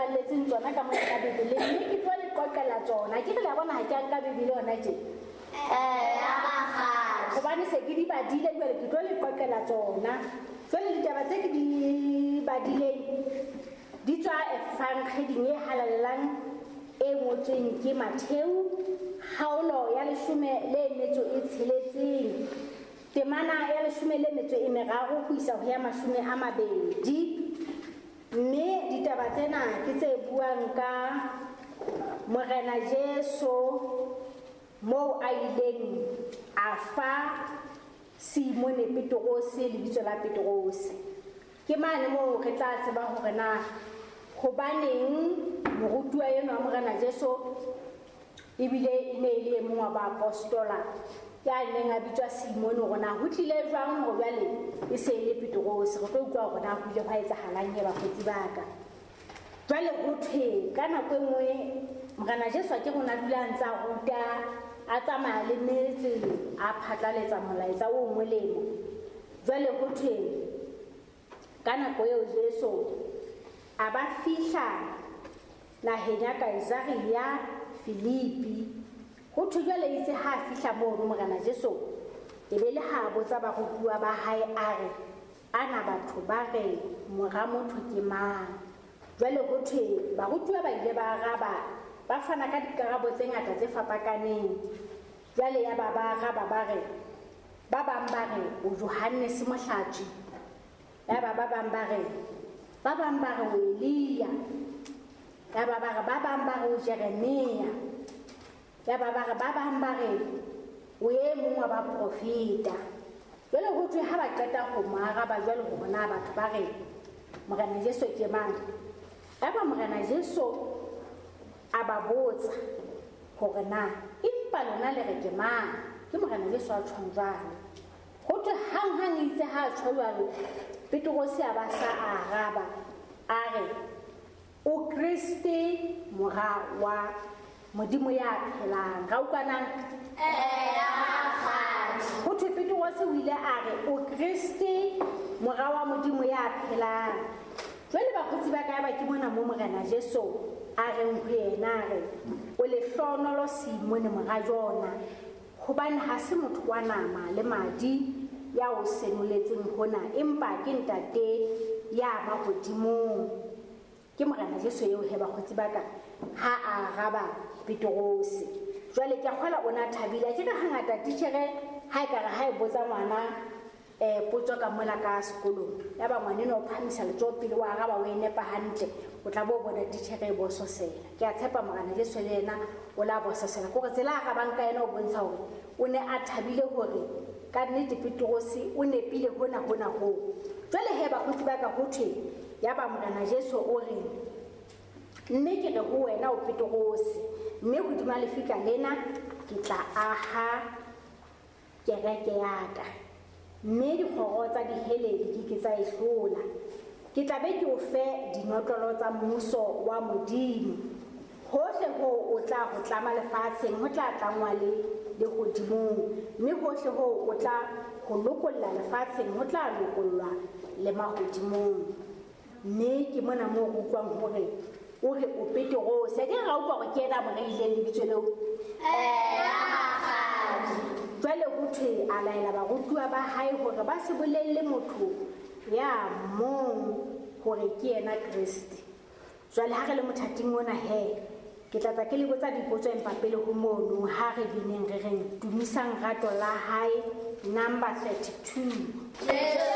ipalletseng tsona ka mona ka Bibeleng, mme ke tlo le qoqela tsona. Ke re le a bona ha ke a nka Bibele hona tje. Eya, rakgadi. Hobane se ke di badile jwale ke tlo le qoqela tsona. Jwale ditaba tse ke di badileng di tswa Evangeling e halalelang e ngotsweng ke Matheu, kgaolo ya leshome le metso e tsheletseng, temana ya leshome le metso e meraro ho isa ho ya mashome a mabedi. Mme ditaba tsena ke tse buang ka Morena Jesu moo a ileng a fa Simone Petrose lebitso la Petrose. Ke mane moo re tla tseba hore na hobaneng morutuwa enwa wa Morena Jesu ebile e ne e le e mong wa baapostola ya neng a bitswa Simone, hore na ho tlile jwang hore jwale e se e le Petrose. Re tlo utlwa hore na ho ile hwa etsahalang he bakgotsi ba ka. Jwale ho thwe ka nako e nngwe Morena Jesu a ke rona dula a ntse a ruta, a tsamaya le metse, a phatlaletsa molaetsa o molemo. Jwale ho thwe ka nako eo Jesu a ba fihla naheng ya Kaesarea Filipi. Ho thwe jwale itse ha a fihla mono Morena Jesu, e be le ha a botsa barutuwa ba hae a re, ana batho ba re mora motho ke mang? Jwale ho thwe barutuwa ba ile ba araba, ba fana ka dikarabo tse ngata tse fapakaneng. Jwale ya ba ba araba ba re, ba bang ba re o Johannes Mohlatswi, ya ba ba bang ba re, ba bang ba re o Elia, ya ba ba re ba bang ba re o Jeremia, ya ba ba re ba bang ba re o e mong wa baprofeta. Jwale ho thwe ha ba qeta ho mo araba jwale hore na batho ba re Morena Jesu ke mang, ya ba Morena Jesu a ba botsa hore na empa lona le re ke mang. Ke Morena Jesu a tjhong jwalo. Ho thwe hanghang itse ha a tjho jwalo, Petrose a ba sa araba a re o Kreste mora wa Modimo ya phelang. Ra utlwanang? Eya, rakgadi. Ho thwe Petrose o ile a re o Kreste mora wa Modimo ya phelang. Jwale bakgotsi ba ka ba ke mona mo Morena Jesu a reng ho yena, a re o lehlohonolo Simone mora Jona, hobane ha se motho wa nama le madi ya o senoletseng hona, empa ke Ntate ya mahodimong. Ke Morena Jesu eo he bakgotsi ba ka ha a araba Petrose. Jwale ke a kgolwa o na thabile. Ke re hangata titjhere ha e ka re ha e botsa ngwana, potso ka mola ka sekolong, ya ba ngwaneno o phahamisa letsoho pele o araba o e nepa hantle, o tla bo bona titjhere e bososela. Ke a tshepa Morena Jesu le yena o la bososela. Ke hore tsela a arabang ka yena o bontsha hore o ne a thabile hore ka nnete Petrose o nepile hona hona hoo. Jwale he bakgotsi ba ka ho thwe ya ba Morena Jesu o re, mme ke re ho wena o Petrose, mme hodima lefika lena ke tla aha kereke ya ka, mme dikgoro tsa dihele di ke ke tsa e hlola. Ke tla be ke o fe dinotlolo tsa mmuso wa Modimo. Hohle hoo o tla ho tlama lefatsheng, ho tla tlangwa le lehodimong, mme hohle hoo o tla ho lokolla lefatsheng, ho tla lokollwa le mahodimong. Mme ke mona moo re utlwang hore o re o Petrose. A ke re ra utlwa hore ke yena a mo reileng lebitso leo? Eya, rakgadi. Jwale ho thwe a laela barutuwa ba hae hore ba se bolelle motho ya mong hore ke yena Kreste. Jwale ha re le mothating ona he, ke tla tla ke le botsa dipotso empa pele ho mono ha re bineng re reng tumisang rato la hae number 32. Jesu.